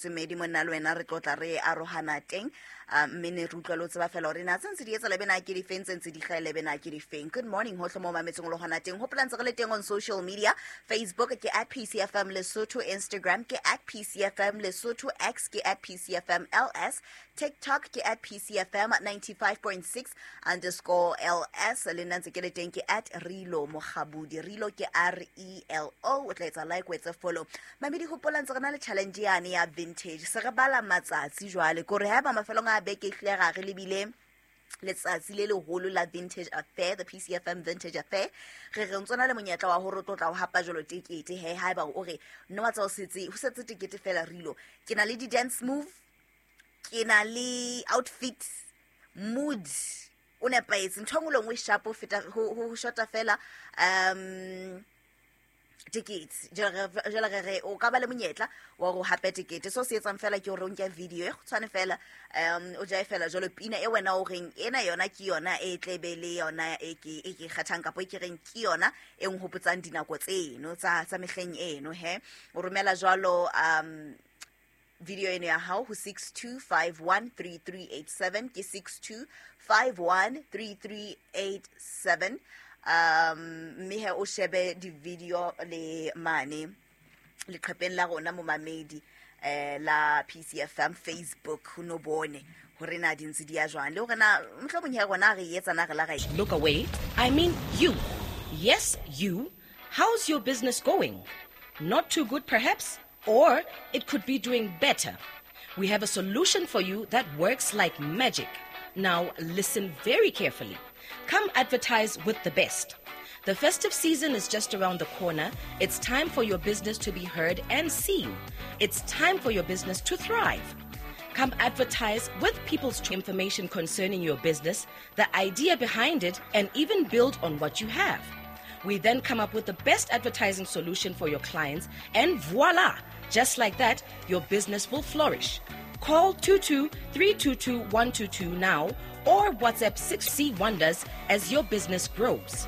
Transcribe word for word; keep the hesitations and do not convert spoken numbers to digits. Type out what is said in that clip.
Semedi monna le wena re tlotla re arohana teng, mme ne re utlwa le o tseba fela hore na tse ntse di etsa lebe na ke difeng, tse ntse di hlaha lebe na ke difeng. Good morning hohle mo mametseng le hona teng. Hopola ntse re le teng on social media. Facebook ke at P C F M Lesotho, Instagram ke at P C F M Lesotho, X ke at P C F M L S, TikTok ke at P C F M ninety-five point six underscore L S. Le nna ntse ke le teng ke at Relo Mokgabudi. Relo ke R E L O. O tla etsa like, o etse follow. Mamedi, hopola ntse re na le challenge yane ya vintage. Se re bala matsatsi jwale kore haeba mafelong a beke e hlile ra re lebile letsatsi le leholo la Vintage Affair, the P C F M Vintage Affair, re re ntse na le monyetla wa hore o tlo tla o hapa jwalo tekete. He, haeba o re nna wa tsa o setse, ho setse tekete fela Relo. Ke na le di-dance move, ke na le outfit, mood o nepahetse, ntho e nngwe le nngwe e sharp ho feta, ho, ho shota fela, um, tickets. Jwale re, jwale re re o ka ba le monyetla wa hore o hape ticket. So se etsang fela ke hore o nke video e kgutshwane fela, um, o jae fela jwalo pina e wena o reng ena yona ke yona e tle be le yona e ke, e ke kgethang kapa e ke reng ke yona e nhopotsang dinako tseno tsa, tsa mehleng eno. He, o romela jwalo, um, video eno ya hao ho six two five one three three eight seven, ke six two five one three three eight seven. Um, mme he o shebe di-video le mane leqhepeng la rona momamedi, eh, la P C F M Facebook, ho no bone hore na di ntse di ya jwang, le hore na mohlomong he rona re etsa na re la ra e- Look away, I mean you. Yes, you. How's your business going? Not too good perhaps, or it could be doing better. We have a solution for you that works like magic. Now listen very carefully. Come advertise with the best. The festive season is just around the corner. It's time for your business to be heard and seen. It's time for your business to thrive. Come advertise with people's information concerning your business, the idea behind it, and even build on what you have. We then come up with the best advertising solution for your clients, and voila! Just like that, your business will flourish. Call two two three two two one two two now or WhatsApp six C Wonders as your business grows.